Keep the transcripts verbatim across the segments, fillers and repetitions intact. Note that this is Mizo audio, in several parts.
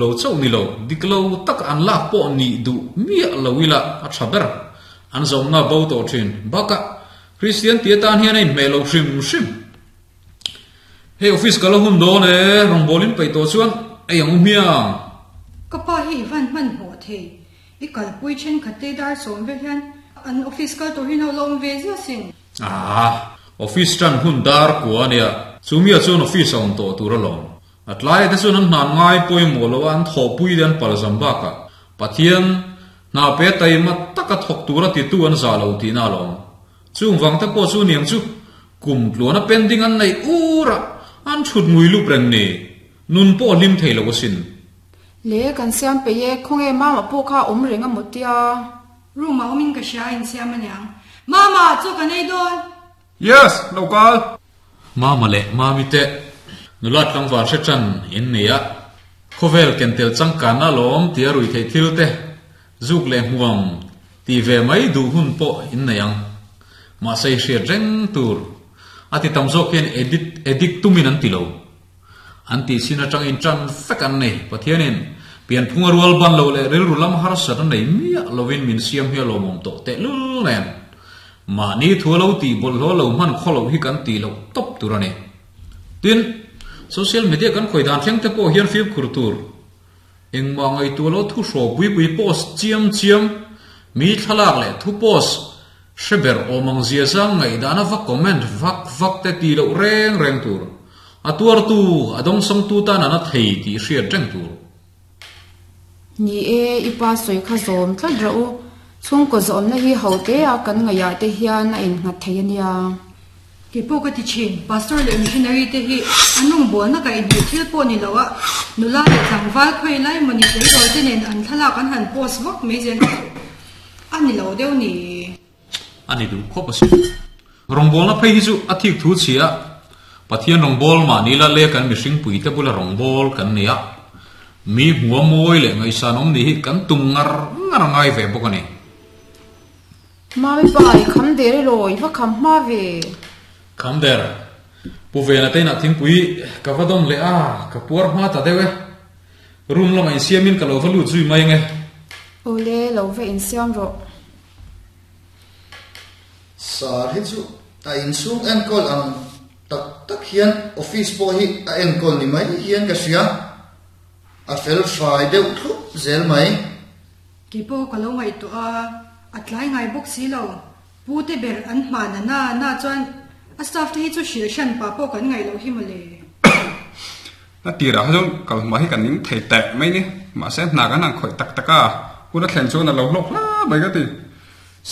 Lo chauh ni lo, dik lo taka an lak pawh nih duh miah lo ila a tha ber. An zawmna bo tawh thin. Bakah, Kristian tih atan hian a inhmeh lo hrim hrim. Hei office ka la hun dawn e, rawngbawlin peih tawh chuan ei ang u hmiang. Ka pa hi i van hmanhmawh thei. I kalpui thenkhat te dar sawm vel hian an office kal tur hi no la awm ve zia sin. Aa, office tan hun dar kua a nia, chumia chuan office a awm tawh tur alawm. A tlai te chuan an hnan ngai pawimawh lo a, an thawhpui te an palzam bakah Pathian hna pe taima taka thawk tura titu an zah lo tihna alawm. Chung vang te pawh chu niang chu kum tluana pending an neih ur a, an thut ngui lup reng ni. Nun pawh a hlim thei lo asin. Le kan siam peih e, khawnge Mama pawh kha awm reng a maw tia? Room ah awmin ka hria a insiam aniang. Mama, chaw kan ei dawn! Yes, lo kal! Mama leh Mami te nula tlangval hre tan in nei a, khawvel ken tel changkanna lawm tia rui theih thil te zuk leh hmuam tih ve mai duh hun pawh in nei ang. Mahse i hriat reng tur a ti tam zawk hian edit edit tumin an ti lo. An tih sin atangin tan vek an nei. Pathianin pianphunga rual ban lo leh rilru lam harsat a nei miah lovin min siam hi a lawmawm tawh tehlul nen. Mahni thu a lo tih bawlhhlawh lo hman khaw loh hi kan tih loh tawp tur a ni. Tin, social media kan khawi dan thleng te pawh hian fimkhur tur. Engmah ngaihtuah lo thu hraw pui pui post chiam chiam, mi thlalak leh thu post hre ber awm ang zia zang ngaihdana va comment vak vak te tih loh reng reng tur. A tuartu, a dawngsawngtu tan a na thei tih hriat reng tur. Ni e, i pa sawi kha zawm tlat rawh u. Chhungkaw zawmna hi ho te a kan ngaihah te hian a innghat thei a nia. Kei pawh ka ti thin, Pastor leh Missionary te hi an rawngbawlna ka inhmeh thil pawh ni lo a, nula leh tlangval khawi lai mawni tleirawl te nen an thlalak an han post vak mai zel a ni lo deuh ni. A ni duh khawp asin. Rawngbawlna phei hi chu a thik thu chhia a, Pathian rawngbâwl mahni la leh kan mihringpuite bula rawngbâwl kan nei a, mi hmua mawi leh ngaihsan awm nih hi kan tum ngar ngar a ngai ve bawk a ni. Mami pa, i kham der elaw? I va kham hma ve? Kham der. Pu Vena te inah thingpui ka va dawn leh a, ka puar hma ta deuh e. Room lamah insiamin ka lo va lut zui mai ang e. Awle, lo va insiam rawh. Sar hi chu a inchhung enkawl ang tak tak hian office pawh hi a enkawl ni mai hian ka hria. A fel fai deuh thlup zel mai. Kei pawh ka lo ngaihtuah a, a tlai ngai bawk si lo. Pu te ber an hman a na na chuan a staff te hi chu hrilh hran pah pawh kan ngaih loh hi mawle. A tirah kha chuan kalhma hi kan ning thei teh mai ni. Mahse hna kan han khawih tak tak a, hun a thlen chuan a lo hlawk hla mai ka ti.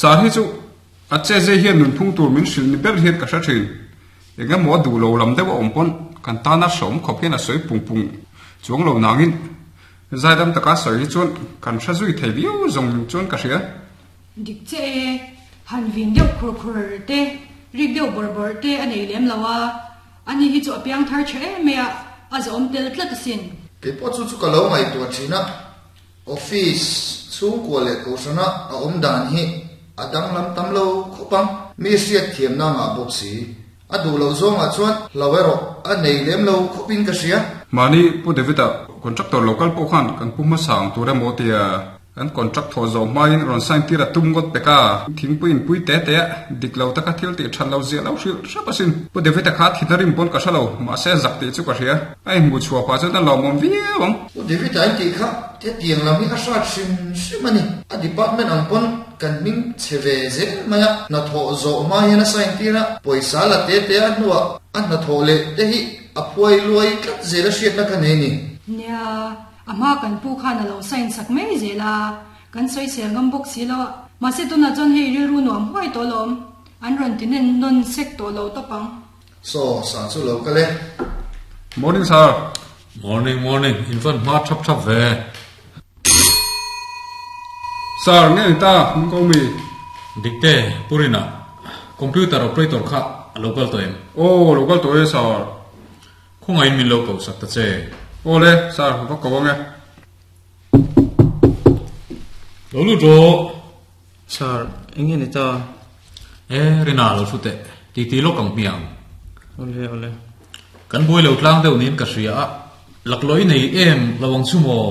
Sar hi chu a che zai hian nunphung tur min hrilh ni ber hian ka hre thin. Eng emaw a duh lo lam deuh a awm pawn kan tana hreawm khawp hian a sawi pung pung chuang lo nangin zaidam taka sawi hi chuan kan hre zui thei viau zawng chuan ka hria. Dik che e, han vin deuh khur khur te, rik deuh bawrh bawrh te a nei lem lo a, ani hi chu a piang thar tha em mai a, a zahawm tel tlat asin. Kei pawh chu chu ka lo ngaihtuah thin a, office chhungkua leh kohhrana a awm dan hi a danglam tam lo khawp ang. Mi hriat thiamna ngah bawk si, a duh loh zawngah chuan hlo erawh a nei lem lo khawpin ka hria. Mahni Pu David-a contractor lo kal pawh khan kan pu hmasa ang tur emaw tia kan contract thawh zawh hmain rawn sign tir a tum ngawt pek a, thingpui inpui te te a dik lo taka thil tih that lo ziah lo hrilh hrep asin. Pu David-a kha thina rim pawn ka hre lo, mahse zak tih chu ka hria. A inhmuh chhuah pah chuan a lawmawm viau ang. Pu David-a in tih kha hetiang lam hi a hrat hrim hrim a ni. A department ang pawn kan hming chhe ve zel mai a, hnathawh zawh hma hian a sign tir a, pawisa la te te a hnuah a hnathawh leh te hi a phuai luai tlat zel a hriatna ka nei ni. Nia, a hma kan pu khan a lo sign sak mai zel a, kan sawisel ngam bawk si lo a, mahse tunah chuan hei rilru nuam huai tawh alawm, an rawn ti nen nawn sek tawh lo tawp ang. Saw, sa chu lo kal e. Morning sir. Morning morning, in van hma thap thap ve. Sir, nge ni ta, min ko mi? Dikte, Purina, computer operator kha a lo kal tawh em? Aw, lo kal tawh e sir. Khawngaihin min lo koh sak ta che. Aw le, sir, va ko ang e. Lo lut rawh. Sir, eng nge ni ta? E, Rina lo thu teh, titi lawk ang hmiang. Awle, awle. Kan buai lo tlang deuh niin ka hria a, laklawh i nei em lo ang chu maw?